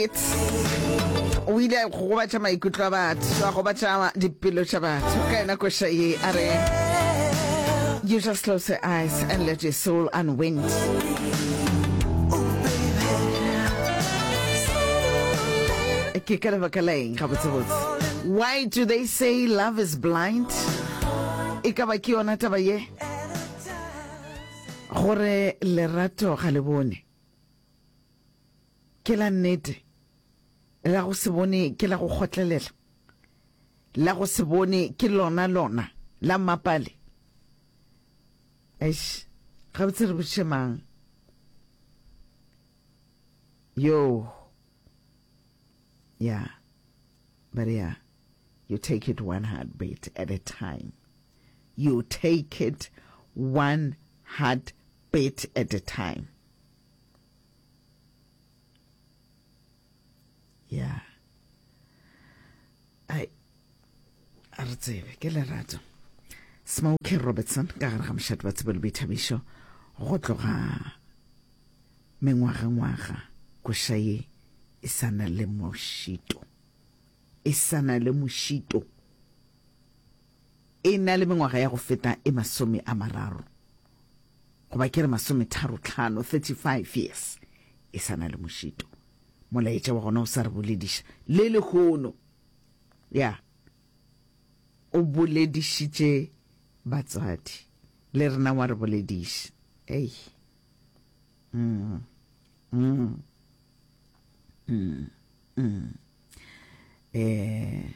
Heartbeat o ile a gobatša maikutlo a batho, a gobatša dipelo tša batho ka yona koša ye a re You just close your eyes and let your soul unwind. Ke ka lebaka la eng gabotsebotse? Why do they say love is blind? E ka ba ke yona taba ye? Gore lerato ga le bone. Ke la nnete. La go se bone ke la go kgotlelela. La go se bone ke lona lona la mmapale. Eish, gabotse re botšiše mang? Yo. Yeah. But yeah, you take it one heartbeat at a time. You take it one heartbeat at a time. Yeah. Ai, a re tsebe ke lerato. Smokey Robertson ka gare ga mošate wa tsebo le boithabišo go tloga mengwagangwaga koša ye e sa na le mošito e sa na le mošito E na le mengwaga ya go feta e 30, goba ke re masometharotlhano, 35 years, e sa na le mošito. Molaetša wa gona o sa re bolediša le lehono. Ya, o boledišitše batswadi, le rena wa re bolediša. Ei. Mm. Mm. Mm. Mm. Eh.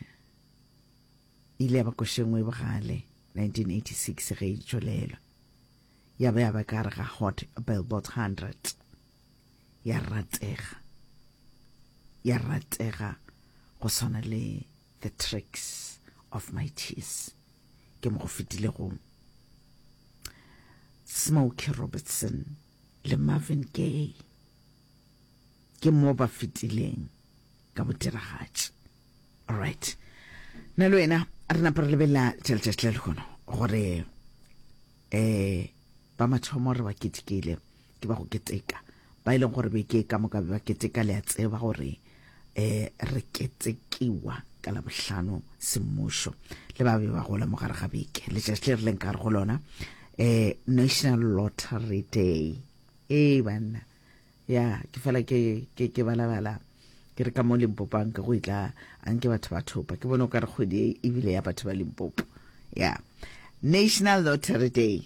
E ile ya ba koša e nngwe e bogale 1986 ge e tšwelelwa. Ya ba ya ba ka gare ga Hot Billboard 100. Ya ratega. Ya ratega go swana le The Tricks of My Tears. Ke mo go fetilego Smokey Robertson le Marvin Gaye. Ke mo ba fetileng ka bodiragatši. Alright. Nna le wena re napa re lebelela tša letšatši la lehono gore eh ba mathomo re ba ketekile ke ba go keteka ba e leng gore beke ka moka be ba keteka le a tseba gore eh re ketekiwa ka la bohlano semmušo le ba be ba gola mo gare ga beke letšatši le re leng ka gare go lona eh National Lottery Day ee banna Ya, ke fela ke, ke, ke balabala, ke re ka mo Limpopo anke go itla, anke batho ba thopa. Ke bone o ka re kgwedi e ebile ya batho ba Limpopo. Ya. National Lottery Day.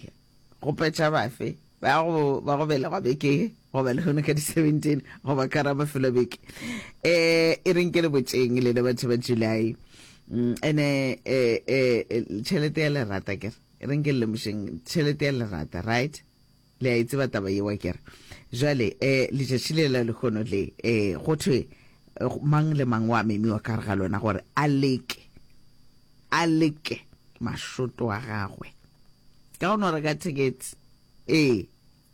Go petša bafe? Ba go, ba go belegwa beke ye, goba lehono ka di 17, goba ka ra mafelo a beke. Eh, e reng ke le botšeng lena batho ba July. Mm, ene, eh, eh, tšhelete ya lerata ke re. E reng ke le lemošeng, tšhelete ya lerata, right? Le a e tseba taba yeo, akere? Jwale, eh, letšatši le la lehono le, eh, go thwe mang le mang wa memiwa ka gare ga lona gore a leke, a leke mašoto a gagwe ka go no reka thekete. Ee,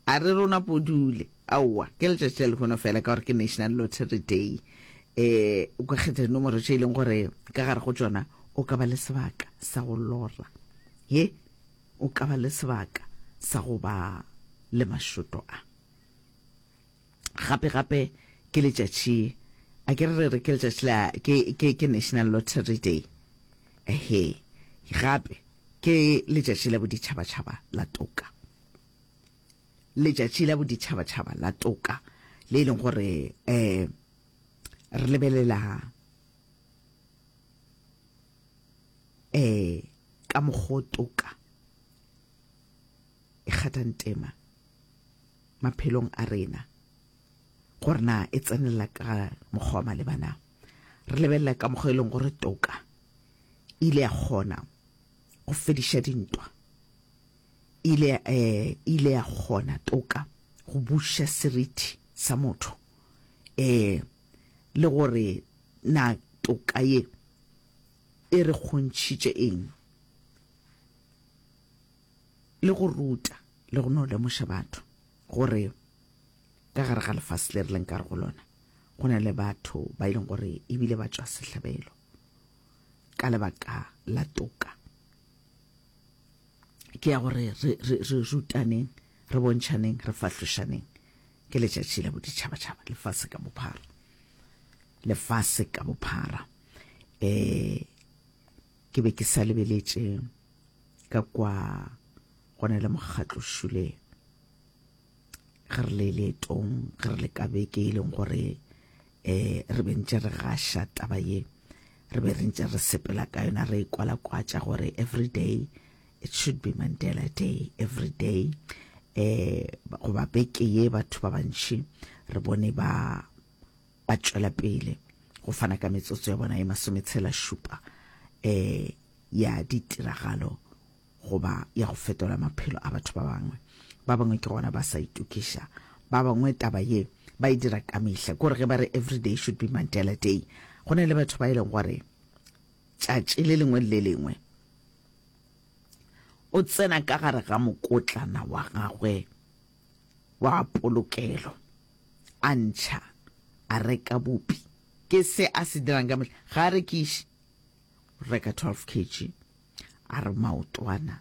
a re rona podule. Aowa, ke letšatši la lehono fela ka gore ke National Lottery Day. Eh, o ka kgetha dinomoro tše e leng gore ka gare go tšona o ka ba le sebaka sa go lora. Ye, O ka ba le sebaka sa go ba le mašoto a. Gape gape ke letšatši, a ke re re re ke letšatši la, ke, ke, ke National Lottery Day. Ehe, gape ke letšatši la boditšhabatšhaba la toka. Letšatši la boditšhabatšhaba la toka le e leng gore um re lebelela um ka mokgo toka e kgathang tema maphelong a rena, gore na e tsenelela ka mokgwa wa maleba na. Re lebelela ka mokgwa e leng gore toka e ile ya kgona go fediša dintwa, e ile, eh, e ile ya kgona toka go buša seriti sa motho, eh, le gore na toka ye e re kgontšhitše eng? Le go ruta le go no lemoša batho gore ka gare ga lefase le re leng ka gare go lona go na le batho ba e leng gore ebile ba tšwa sehlabelo ka lebaka la toka. Ke ya gore re, re, re rutaneng, re bontšhaneng, re fahlošaneng. Ke letšatši la boditšhabatšhaba lefase ka bophara. Lefase ka bophara. Um ke be ke sa lebeletše ka kwa go na le mokgatlo šule ge re le leetong, ge re le ka beke e leng gore um re be ntše re gaša taba ye, re be re ntše re sepela ka yona re e kwalakwatša gore every day it should be Mandela Day every day eh goba beke ye batho ba bantši re bone ba ba tšwela pele go fana ka metsotso ya bona e masometshela šupa eh ya ditiragalo goba ya go fetola maphelo a batho ba bangwe. Ba bangwe ke gona ba sa itokiša. Ba bangwe taba ye ba e dira ka mehla. Ke gore ge ba re every day should be Mandela Day, go na le batho ba e leng gore tšatši le lengwe le le lengwe o tsena ka gare ga mokotlana wa gagwe wa polokelo a ntšha a reka bupi. Ke se a se dirang ka mehla. Ga a rekiše, o reka 12 kg. A re maotwana.